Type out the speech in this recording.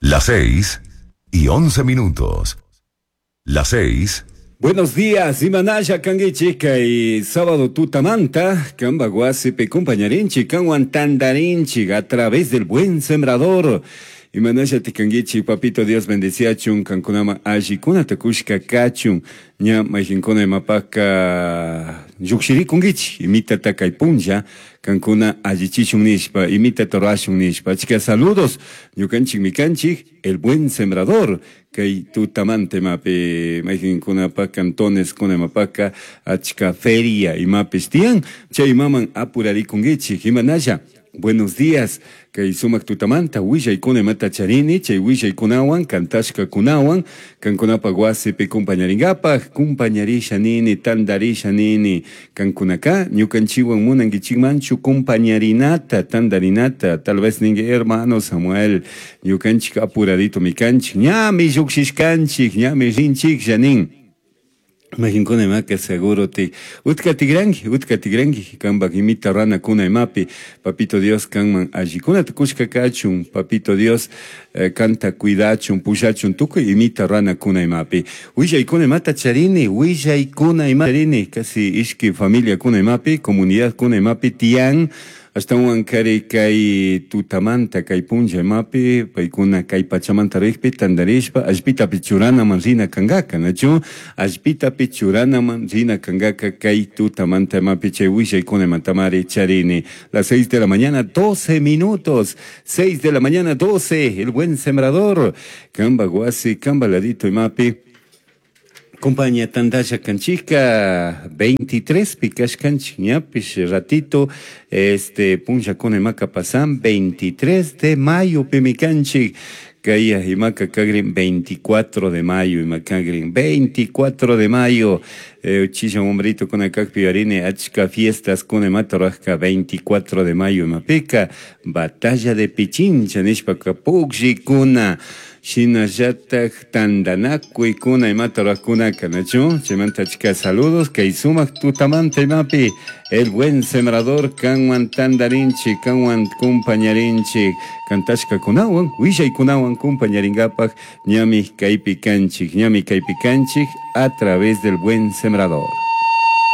Las 6 y 11 minutos. Las 6. Buenos días, imanalla kanguichik kay sábado tutamanta, kamba wasipi compañarinchik, kanwan tandarinchik a través del buen sembrador. Imanalla tikanguichik, papito Dios bendeciachun, kankunama allikunata kushka kachun, ña mayqinkuna imapaqqa lluqshirikunkichik, imitata kay punlla, kankuna allichishun nishpa, imitata rurashun nishpa. Achka saludos, ñukanchikmi kanchik, el buen sembrador, kay tutamanta imapi mayqinkunapaq cantones kuna imapaqqa achka feria imapis tiyan, chay imaman apurarikunkichik, imanalla. Buenos días, kay sumaq tutamanta willaykuna imata charini, chay willaykunawan, kantashkakunawan, kankunapaq wasipi kumpañarinkapaq, kumpañarisha nini, tandarisha nini, kankunaka ñukanchikwan munankichikmanchu kumpañarinata, tandarinata, tal vez ninki hermano Samuel, ñukanchik apuraditomi kanchik, ñami lluqshishkanchik, ñami rinchiklla nin. Mayqinkuna imaka seguro ti utka tigranki, utka tigranki, kanpak imita runakuna imapi, papito Dios kanman allikunata kushka kachun, papito Dios kanta cuidachun, pushachun, tukuy imita runakuna imapi. Willaykuna imata charini, willaykuna imata charini, casi ishki familiakuna imapi, comunidadkuna imapi tiyan, ashtawan kari kay tutamanta, kay punlla imapi, paykuna kay pachamanta rikpi tandarishpa, allpitapi churanaman rina kankaka, nachu? Allpitapi churanaman rina kankaka kay tutamanta imapi chay willaykuna imatamari charini. Las 6 de la mañana, 12 minutos, 6 de la mañana, 12, el buen sembrador, kamba wasi, kamba ladito imapi. Compañía tandalla kanchika 23 pikash kanchik ñapish ratito este punlla kuna imaka pasan 23 de mayo pimikanchik kaya imaka kagrin 24 de mayo imakagrin 24 de mayo uchilla hombrito kuna kakpi arini achka fiestas kuna imata rajka 24 de mayo imapika batalla de Pichincha nishpaka pukllikuna shinallatak tandanakuykuna imata rurajkunaka nachu chaymanta achka saludos kay sumak tutamanta imapi el buen sembrador kanwan tandarinchik kanwan kumpañarinchik kantashkakunawan willaykunawan kumpañarinkapak ñami kaypi kanchik ñami kaypi kanchik a través del buen sembrador.